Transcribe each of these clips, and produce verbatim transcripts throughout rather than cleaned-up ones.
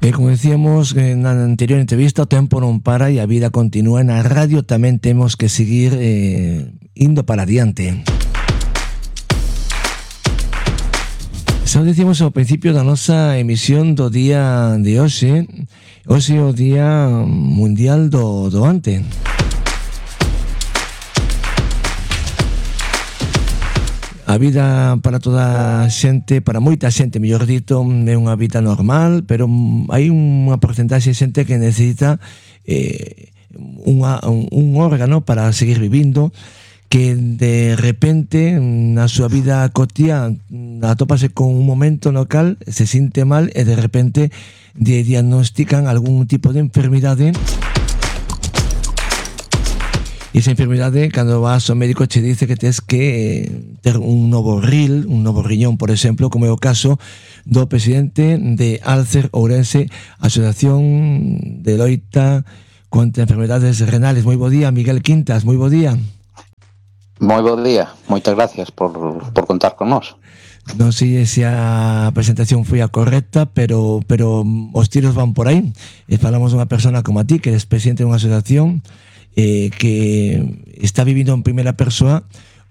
E como decíamos na anterior entrevista, o tempo non para e a vida continúa. Na radio tamén temos que seguir eh, indo para adiante. Xa decimos ao principio da nosa emisión do día de hoxe. Hoxe é o Día Mundial do Doante. A vida para toda a xente, para moita xente, mellor dito, é unha vida normal, pero hai unha porcentaxe de xente que necesita eh, unha, un, un órgano para seguir vivindo, que de repente na súa vida cotidiana atópase con un momento no cal se sinte mal e de repente lle diagnostican algún tipo de enfermidade. E esa enfermidade, cando vas ao médico, che dice que tens que ter un novo ril, un novo riñón, por exemplo, como é o caso do presidente de Alcer Ourense, Asociación de loita contra enfermedades renales. Moi bo día, Miguel Quintas, moi bo día. Moi bo día, moitas gracias por, por contar con nós. Non sei se a presentación foi a correcta, pero, pero os tiros van por aí. E falamos dunha persona como a ti, que eres presidente dunha asociación Eh, que está vivindo en primeira persoa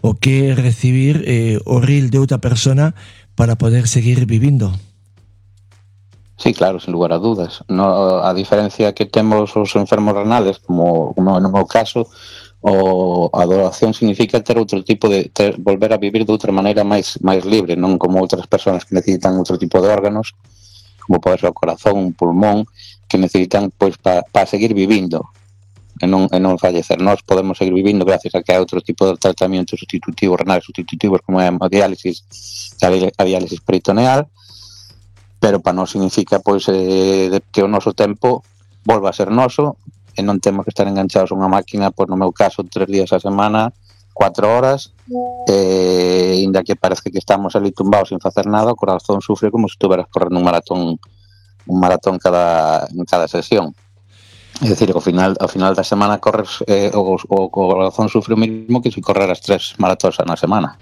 o que recibir eh, o ril de outra persona para poder seguir vivindo. Sí, claro, sin lugar a dudas. No, a diferencia que temos os enfermos renales, como, como no meu caso, o a donación significa ter outro tipo de ter, volver a vivir de outra maneira máis máis libre, non como outras persoas que necesitan outro tipo de órganos, como pode ser o corazón, un pulmón, que necesitan pois para pa seguir vivindo. E non, e non fallecer. Nós podemos seguir vivindo gracias a que hai outro tipo de tratamento sustitutivo, renales sustitutivos, como é a diálisis, a diálisis peritoneal, pero para nós significa pois eh, que o noso tempo volva a ser noso e non temos que estar enganchados a unha máquina, pois no meu caso, tres días a semana, cuatro horas, e ainda que parece que estamos ali tumbados sin facer nada, o corazón sufre como se estuveras correndo un maratón un maratón cada, en cada sesión. É dicir, ao final, ao final da semana corres eh, o, o corazón sufre o mesmo que se correr as tres maratóns na semana.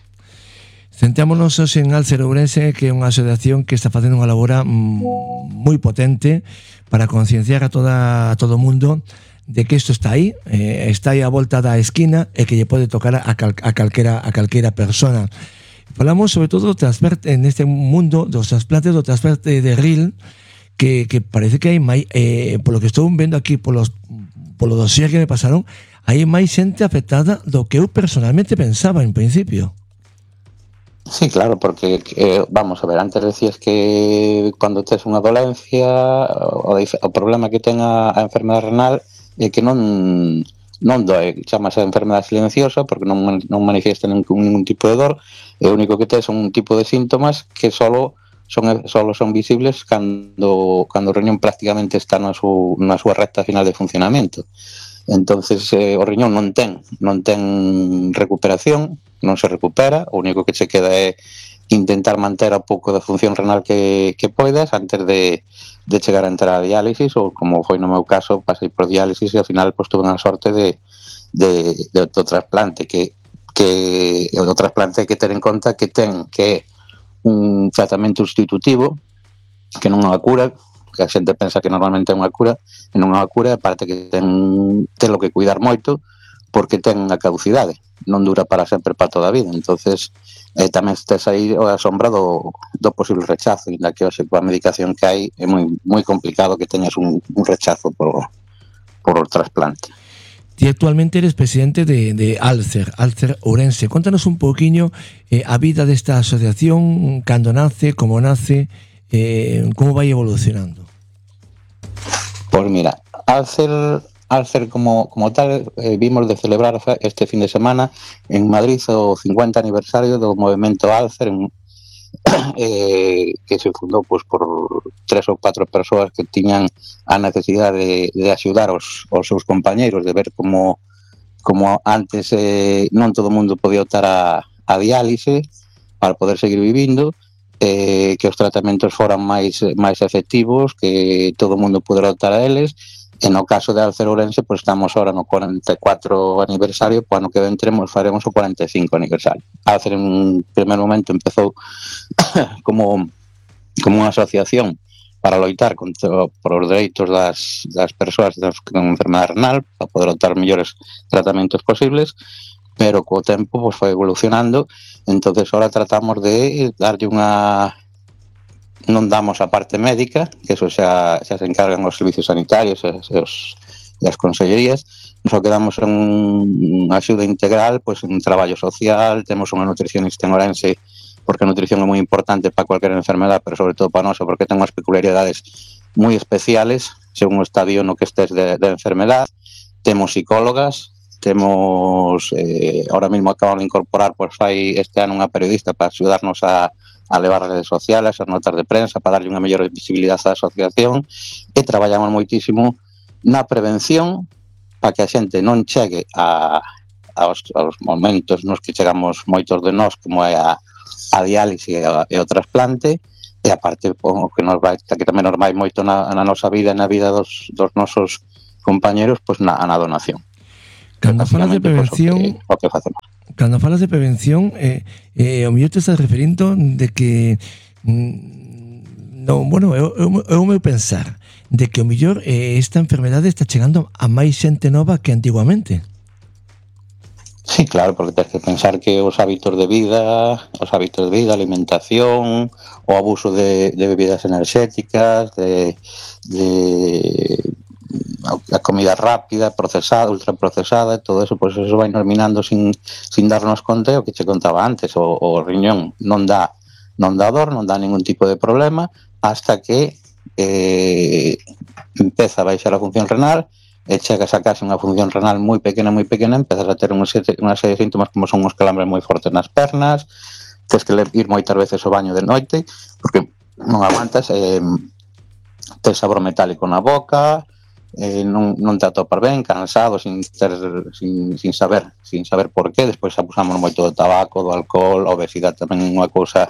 Centrámonos hoxe en Alcer Ourense, que é unha asociación que está facendo unha labora moi potente para concienciar a toda a todo o mundo de que isto está aí, eh, está aí a volta da esquina e que lle pode tocar a, cal, a calquera a calquera persona. Falamos sobre todo do trasplante en este mundo dos trasplantes, do trasplante de ril, que, que parece que hai máis, eh, polo que estou vendo aquí polos, polo dossier que me pasaron, hai máis xente afectada do que eu personalmente pensaba en principio. Sí, claro, porque eh, vamos a ver, antes decías que cando tes unha dolencia o, o problema que ten a, a enfermedade renal é que non non doe, chamase enfermedade silenciosa porque non, non manifiesta ningún, ningún tipo de dor, e o único que tes son un tipo de síntomas que solo son solo son visibles cando cando o riñón prácticamente está na, su, na súa recta final de funcionamento. Entonces eh, o riñón non ten non ten recuperación, non se recupera, o único que se queda é intentar manter a pouco da función renal que, que poidas antes de, de chegar a entrar a diálisis, ou como foi no meu caso, pasei por diálisis e ao final pues, tuve unha sorte de, de, de, de trasplante que, que o trasplante hai que ter en conta que ten que un tratamento sustitutivo que non é unha cura, que a xente pensa que normalmente é unha cura, e non é unha cura, aparte que ten telo que cuidar moito porque ten unha caducidade, non dura para sempre, para toda a vida. Entonces eh, tamén estes aí a sombra do, do posible rechazo, ainda que hoxe coa medicación que hai é moi, moi complicado que teñas un, un rechazo por, por o trasplante. Ti actualmente eres presidente de, de Alcer, Alcer Ourense. Contanos un poquinho eh, a vida desta asociación, cando nace, como nace, eh, como vai evolucionando. Pois mira, Alcer, Alcer como, como tal, eh, vimos de celebrar este fin de semana en Madrid o cincuenta aniversario do movimento Alcer, en, eh, que se fundou pues, por tres ou catro persoas que tiñan a necesidade de, de axudar os, os seus compañeiros, de ver como, como antes eh, non todo o mundo podía optar a, a diálise para poder seguir vivindo, eh, que os tratamentos foran máis, máis efectivos, que todo o mundo pudera optar a eles. E no caso de Alcer Ourense, pues estamos ahora no cuarenta e cuatro aniversario, pues ano que entremos faremos o cuarenta e cinco aniversario. Alcer en un primer momento empezou como, como unha asociación para loitar contra, por os dereitos das, das persoas con enfermedade renal, para poder optar mellores tratamentos posibles, pero co tempo pues, foi evolucionando, entonces ahora tratamos de darlle unha... non damos a parte médica, que eso xa, xa se encargan os servicios sanitarios e, os, e as consellerías, só que damos unha axuda integral, pues, un traballo social, temos unha nutricionista en Ourense, porque a nutrición é moi importante para cualquier enfermedad, pero sobre todo para nosa, porque ten unhas peculiaridades moi especiales, según o estadio no que estés de, de enfermedad. Temos psicólogas, temos, eh, ahora mesmo acaban de incorporar, pues fai este ano unha periodista para axudarnos a, a levar as redes sociales, as notas de prensa, para darlle unha mellor visibilidade á asociación, e traballamos moitísimo na prevención, para que a xente non chegue a, aos, aos momentos nos que chegamos moitos de nós, como é a a diálise e, a, e o trasplante, e aparte o que nos vai, que tamén nos vai moito na, na nosa vida e na vida dos, dos nosos compañeros, pois na, na donación. Cando falas de prevención, pues, o que, o que facemos. Cando falas de prevención, eh, eh, o mellor te estás referindo de que mm, no, bueno, é o meu pensar de que o mellor eh, esta enfermedade está chegando a máis xente nova que antigamente. Sí, claro, porque tens que pensar que os hábitos de vida, os hábitos de vida, alimentación, o abuso de, de bebidas enerxéticas, de, de a comida rápida, procesada, ultraprocesada, todo eso, pues eso vai nos minando sin, sin darnos conta, o que che contaba antes, o, o riñón non dá, non dá dor, non dá ningún tipo de problema, hasta que eh, empeza a baixar a función renal, e chegas a case unha función renal moi pequena, moi pequena, empezas a ter unha serie de síntomas como son uns calambres moi fortes nas pernas, tens que ir moitas veces ao baño de noite, porque non aguantas, eh, tens sabor metálico na boca, eh, non, non te atopas ben, cansado, sin, ter, sin, sin saber sin saber por qué. Despois abusamos moito do tabaco, do alcohol, a obesidade tamén é unha cousa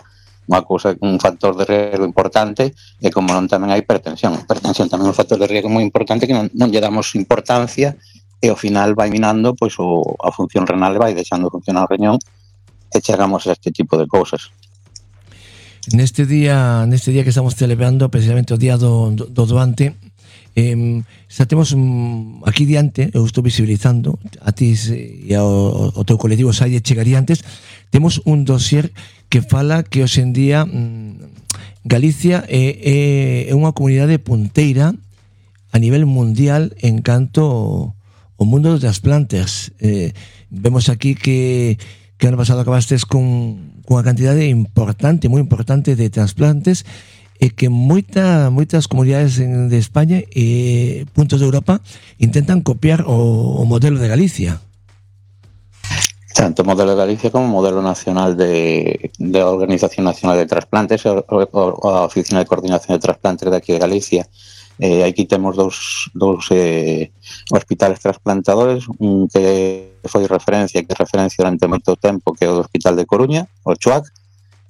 unha cousa, un factor de riesgo importante, e como non tamén a hipertensión. A hipertensión tamén é un factor de riesgo moi importante que non, non lle damos importancia, e ao final vai minando pois o, a función renal, vai deixando funcionar o riñón, e chegamos a este tipo de cousas. Neste día, neste día que estamos celebrando precisamente o día do, do, do doante, eh, xa temos um, aquí diante, eu estou visibilizando a ti e ao, ao teu colectivo Salle chegaría antes, temos un dossier que fala que hoxe en día mmm, Galicia é, é unha comunidade punteira a nivel mundial en canto ao mundo dos trasplantes. Eh, vemos aquí que que ano pasado acabastes con, con unha cantidade importante, moi importante de trasplantes, e que moita, moitas comunidades de España e puntos de Europa intentan copiar o, o modelo de Galicia. Tanto o modelo de Galicia como o modelo nacional de, de Organización Nacional de Trasplantes, o, o, a Oficina de Coordinación de Trasplantes de aquí de Galicia. Eh, aquí temos dous, dous eh, hospitales trasplantadores, un que foi referencia, que é referencia durante moito tempo, que é o do Hospital de Coruña, o Chuac,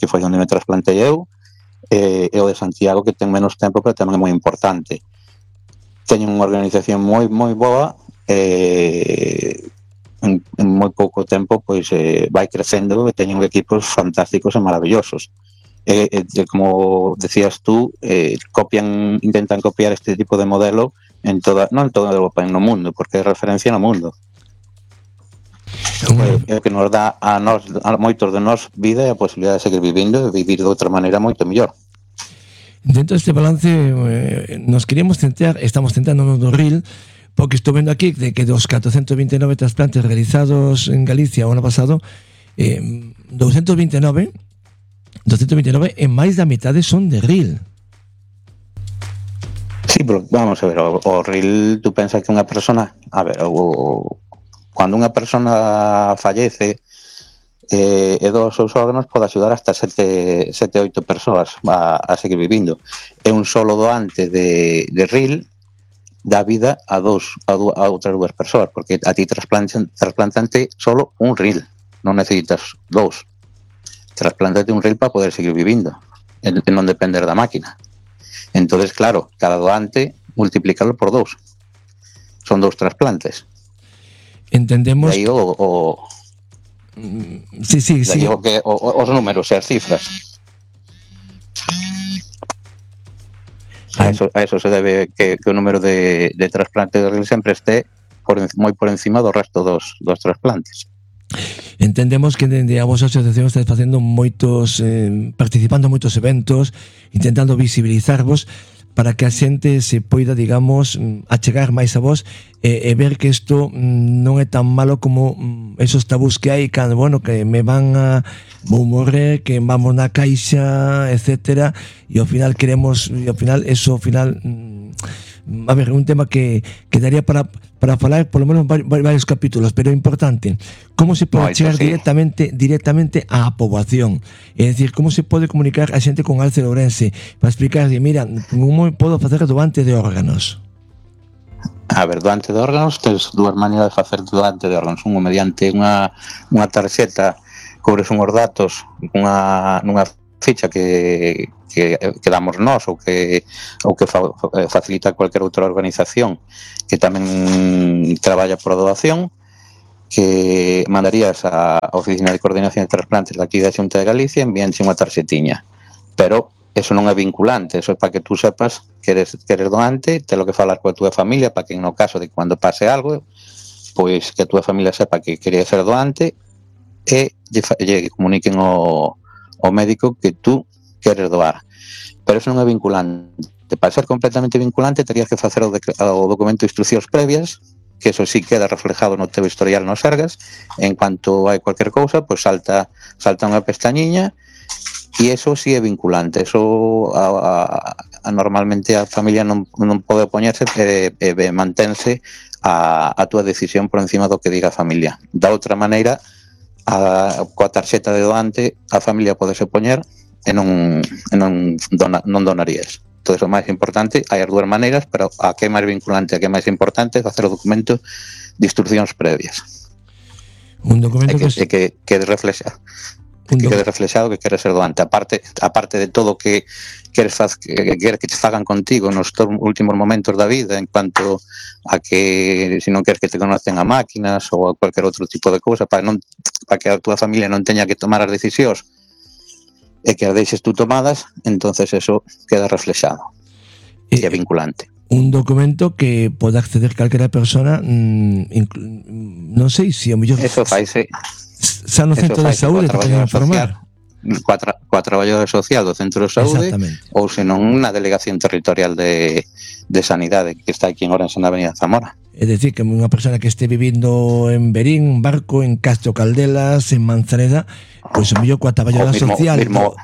que foi onde me trasplantei eu, e, e o de Santiago, que ten menos tempo, pero tamén é moi importante. Teñen unha organización moi, moi boa, e en, en moi pouco tempo pois eh, vai crecendo, e teñen equipos fantásticos e maravillosos. E, e como decías tú, eh, copian, intentan copiar este tipo de modelo en toda, non en toda Europa, en no mundo, porque é referencia no mundo. É o que nos dá a nós, a moitos de nós, vida e a posibilidade de seguir vivindo e vivir de outra maneira moito mellor. Dentro deste balance eh, nos queríamos centrar, estamos centrándonos no R I L, porque estou vendo aquí de que dos catrocentos vinte e nove trasplantes realizados en Galicia o ano pasado, eh, doscientos vinte e nove e máis da metade son de R I L. Sí, pero vamos a ver, o, o R I L, tú pensas que unha persona, a ver, o, cando unha persona fallece eh, e dos seus órganos pode axudar hasta sete, sete, oito persoas a, a seguir vivindo. É un solo doante de, de R I L dá vida a dos a, du, a outras dúas persoas, porque a ti trasplantante, trasplantante solo un R I L, non necesitas dous. Trasplántate un R I L para poder seguir vivindo, e non depender da máquina. Entonces, claro, cada doante multiplícalo por dous. Son dous trasplantes. Entendemos. De aí o, o sí, sí, de sí. aí o que o, os números e as cifras. A eso, a eso se debe que, que o número de, de trasplantes de órganos sempre este por, moi por encima do resto dos, dos trasplantes. Entendemos que dende a vosa asociación estáis facendo moitos, eh, participando en moitos eventos, intentando visibilizarvos para que a xente se poida, digamos, achegar máis a vos e, e ver que isto non é tan malo como esos tabús que hai cando, bueno, que me van a vou morrer, que vamos na caixa, etcétera, e ao final queremos, e ao final eso ao final a ver, un tema que, que daría para para falar por lo menos varios capítulos, pero é importante como se pode chegar sí. directamente directamente á poboación, é dicir, como se pode comunicar a xente con Alce de Ourense para explicarlle, mira, como podo facer doante de órganos? A ver, doante de órganos tens dúas maneiras de facer doante de órganos, unha mediante unha, unha tarxeta, cobres unhos datos unha, nunha ficha que, que, que damos nós ou que, ou que fa, facilita cualquier outra organización que tamén traballa por doación, que mandarías á Oficina de Coordinación de Trasplantes daqui da Xunta de Galicia, envíanche unha tarxetiña, pero eso non é vinculante, eso é para que tú sepas que eres, que eres doante, te lo que falar coa túa familia para que no caso de cando pase algo, pois que a túa familia sepa que quería ser doante e lle, lle comuniquen o o médico que tú queres doar. Pero eso non é vinculante. Para ser completamente vinculante terías que facer o, o documento de instruccións previas, que eso sí queda reflejado no teu historial no Sergas. En cuanto hai cualquier cousa, pois salta salta unha pestañiña e eso sí é vinculante. Eso a, a, a normalmente a familia non, non pode opoñerse e, e, e mantense a, a túa decisión por encima do que diga a familia. Da outra maneira, a, coa tarxeta de doante a familia podese poñer e non, e non, dona, non donarías. Todo iso máis importante, hai as dúas maneiras, pero a que é máis vinculante, a que é máis importante é facer o documento de instruccións previas. Un documento que, que, que, que reflexa que quede reflexado que queres ser doante, aparte aparte de todo que queres faz, que, que queres que te fagan contigo nos últimos momentos da vida, en cuanto a que se si non queres que te conocen a máquinas ou a cualquier outro tipo de cousa, para non para que a túa familia non teña que tomar as decisións e que as deixes tú tomadas, entonces eso queda reflexado e é vinculante. Un documento que pode acceder calquera persona, mmm, non sei se o mellor eso faise xa no centro de saúde te poden informar coa, tra coa traballadora social do centro de saúde ou senón na delegación territorial de, de sanidade que está aquí en Ourense na avenida Zamora. É dicir, que unha persona que este vivindo en Berín, en Barco, en Castro Caldelas, en Manzaneda, pois o mellor coa traballadora social mismo,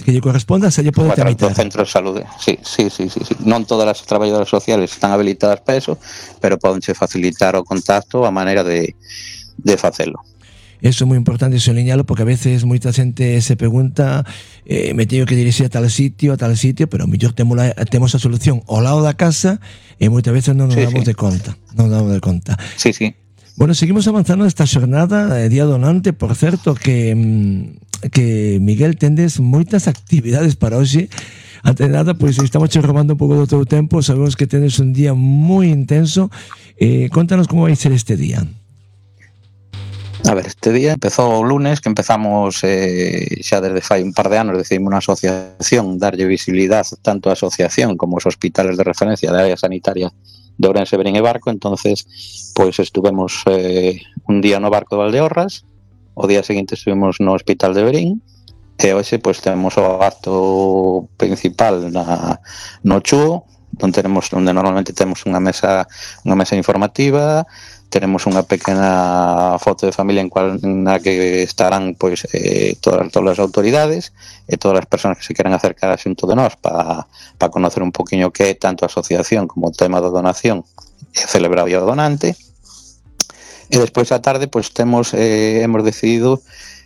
que lle corresponda se lle pode tramitar. Do centro de saúde, sí, sí, sí, sí, sí. Non todas as traballadoras sociales están habilitadas para eso, pero podenche facilitar o contacto a maneira de, de facelo. Eso é moi importante soniñalo, porque a veces moita xente se pregunta eh, me teño que dirixir a tal sitio, a tal sitio, pero mellor temos, la, temos a solución ao lado da casa e moitas veces non nos sí, damos sí. de conta. Non nos damos de conta. Sí, sí. Bueno, seguimos avanzando esta xornada, eh, Día Donante, por certo, que, que Miguel, tendes moitas actividades para hoxe. Antes de nada, pois estamos che robando un pouco do teu tempo, sabemos que tendes un día moi intenso. Eh, contanos como vai ser este día. A ver, este día empezou o lunes, que empezamos eh, xa desde fai un par de anos, decidimos unha asociación darlle visibilidade tanto a asociación como os hospitales de referencia da área sanitaria de Ourense, Berín e Barco. Entonces, pois estuvemos eh, un día no Barco de Valdeorras, o día seguinte estuvemos no Hospital de Berín, e hoxe pois temos o acto principal na, no Chúo, onde tenemos onde normalmente temos unha mesa unha mesa informativa. Tenemos unha pequena foto de familia en cual na que estarán pois eh, todas, todas as autoridades e todas as persoas que se queren acercar a xunto de nós para pa conocer un poquinho que é tanto a asociación como o tema da donación e celebrar o Día do Donante. E despois a tarde pois temos eh, hemos decidido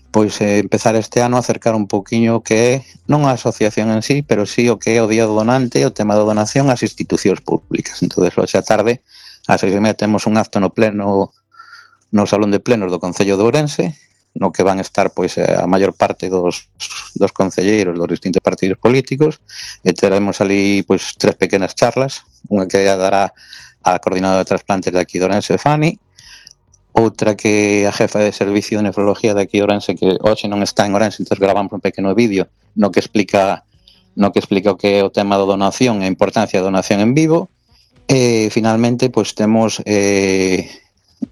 pois eh, empezar este ano a acercar un poquinho que é non a asociación en sí, pero sí o que é o Día do Donante, o tema da donación ás institucións públicas. Entonces, hoxe a tarde a seis e media temos un acto no pleno no salón de plenos do Concello de Ourense, no que van estar pois a maior parte dos, dos concelleiros dos distintos partidos políticos, e teremos ali pois tres pequenas charlas, unha que dará a coordinadora de trasplantes de aquí de Ourense, Fanny, outra que a jefa de servicio de nefrología de aquí de Ourense, que hoxe non está en Ourense, entón gravamos un pequeno vídeo no que explica no que explica o que é o tema da donación e a importancia da donación en vivo. E finalmente pois temos eh,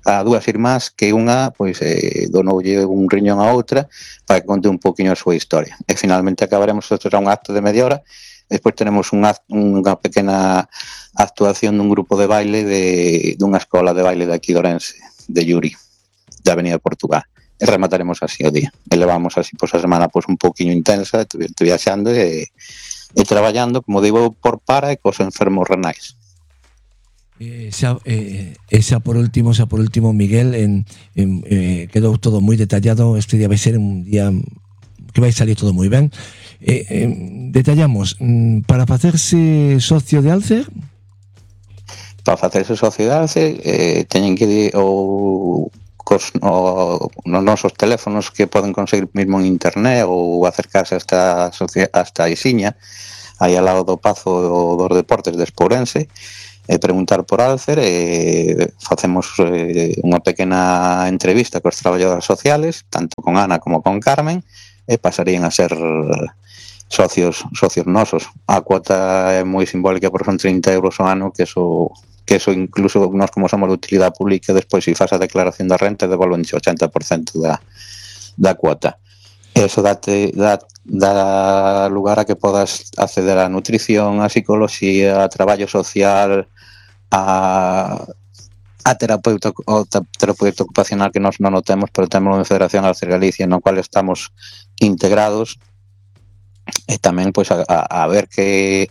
a dúas irmás que unha pois eh, donoulle un riñón a outra para que conte un poquinho a súa historia. E finalmente acabaremos, isto será un acto de media hora, e despois tenemos un act, unha pequena actuación dun grupo de baile de dunha escola de baile de aquí de Ourense, de Yuri, de Avenida Portugal. E remataremos así o día. E levamos así pois a semana pois un poquinho intensa, viaxando e, e traballando, como digo, por para e cos enfermos renais. Eh, xa, eh, esa por último, xa por último, Miguel, en, en, eh, quedou todo moi detallado. Este día vai ser un día que vai salir todo moi ben. Eh, eh, detallamos, para facerse socio de Alcer? Para facerse socio de Alcer eh, teñen que ir ou cos, o, nos nosos teléfonos que poden conseguir mismo en internet ou acercarse hasta, hasta a Isiña, aí ao lado do Pazo dos Deportes de Espourense, e preguntar por Alcer, e facemos eh, unha pequena entrevista cos traballadores sociales, tanto con Ana como con Carmen, e pasarían a ser socios socios nosos. A cuota é moi simbólica, porque son trinta euros ao ano, que eso, que eso incluso nós como somos de utilidade pública, despois se faz a declaración da renta, devolven o ochenta por cento da, da cuota. Eso date, dá, dá lugar a que podas acceder á nutrición, á psicología, a traballo social, a, a terapeuta, o terapeuta ocupacional, que nós non o temos, pero temos unha Federación Alcer Galicia no cual estamos integrados, e tamén pois a, a, a ver que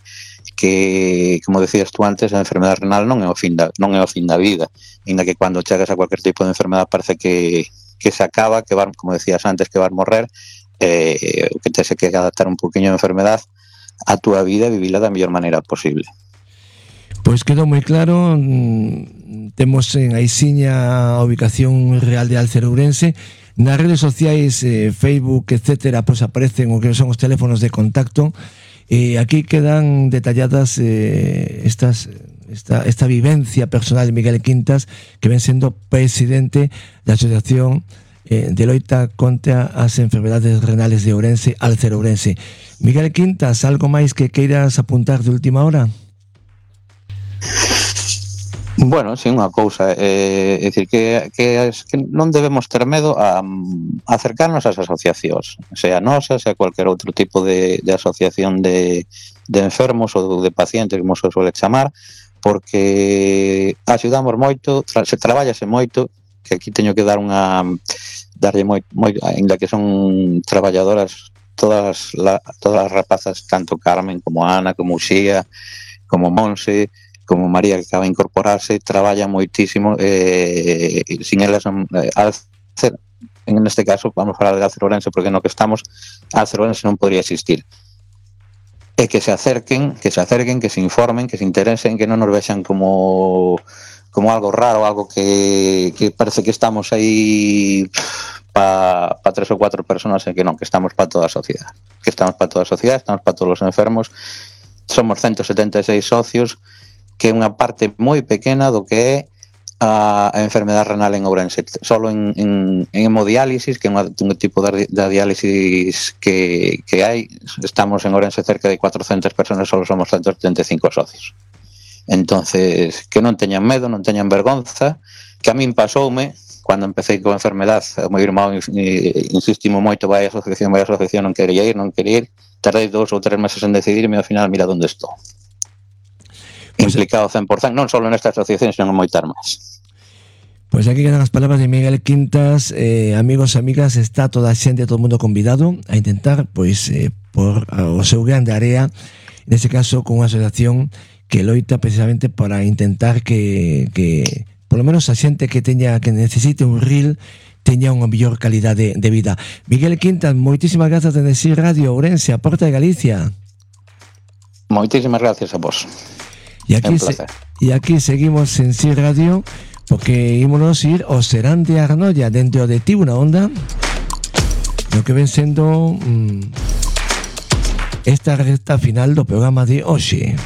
que, como decías tú antes, a enfermedade renal non é o fin da, non é o fin da vida, ainda que cando chegas a cualquier tipo de enfermedade parece que que se acaba, que vas, como decías antes, que vas morrer, eh, que te se que adaptar un poquinho a enfermedade a túa vida e vivila da mellor maneira posible. Pois quedou moi claro. Temos en Aisiña a ubicación real de Alcer Ourense. Nas redes sociais, eh, Facebook, etcétera, pois aparecen o que son os teléfonos de contacto. E aquí quedan detalladas eh, estas esta, esta vivencia personal de Miguel Quintas, que ven sendo presidente da Asociación eh, de loita contra as enfermedades renales de Ourense, Alcer Ourense. Miguel Quintas, algo máis que queiras apuntar de última hora? Bueno, sí, unha cousa, é eh, dicir que, que, que non debemos ter medo a, a acercarnos ás asociacións, sea nosa, sea cualquier outro tipo de, de asociación de, de enfermos ou de pacientes, como se suele chamar, porque axudamos moito, tra, se traballase moito, que aquí teño que dar unha darlle moi, moi ainda que son traballadoras todas la, todas as rapazas, tanto Carmen como Ana, como Uxía, como Monse, como María, que acaba de incorporarse, traballa moitísimo, eh, sin elas eh, Alcer, en este caso vamos a falar de Alcer Ourense, porque no que estamos Alcer Ourense non podría existir. E que se acerquen, que se acerquen, que se informen, que se interesen, que non nos vexan como como algo raro, algo que, que parece que estamos aí para pa tres ou cuatro personas, e que non, que estamos para toda a sociedade, que estamos para toda a sociedade, estamos para todos os enfermos. Somos ciento setenta e seis socios, que é unha parte moi pequena do que é a, a enfermedade renal en Ourense. Solo en, en, en hemodiálisis, que é unha, un tipo de, de diálisis que, que hai, estamos en Ourense cerca de cuatrocentas personas, solo somos ciento setenta e cinco socios. Entonces, que non teñan medo, non teñan vergonza, que a min pasoume cando empecé con a enfermedade. O meu irmão insistimos moito, vai a asociación, vai a asociación, non quería ir, non quería ir, tardei dous ou tres meses en decidirme, e ao final mira onde estou. Implicado cen por cento, non só nesta asociación, senón en moitas máis. Pois aquí quedan as palabras de Miguel Quintas. eh, amigos e amigas, está toda a xente, todo o mundo convidado a intentar, pois, eh, por o seu grande área, neste caso con unha asociación que loita precisamente para intentar que, que por lo menos a xente que teña que necesite un R I L teña unha mellor calidade de, de vida. Miguel Quintas, moitísimas grazas de Nesir Radio Ourense, a Porta de Galicia. Moitísimas gracias a vos. E aquí, se, e aquí seguimos en Sir Radio, porque ímonos ir ao Serán de Arnoia, dentro de Ti Una Onda, lo que ven sendo mmm, esta recta final do programa de hoxe.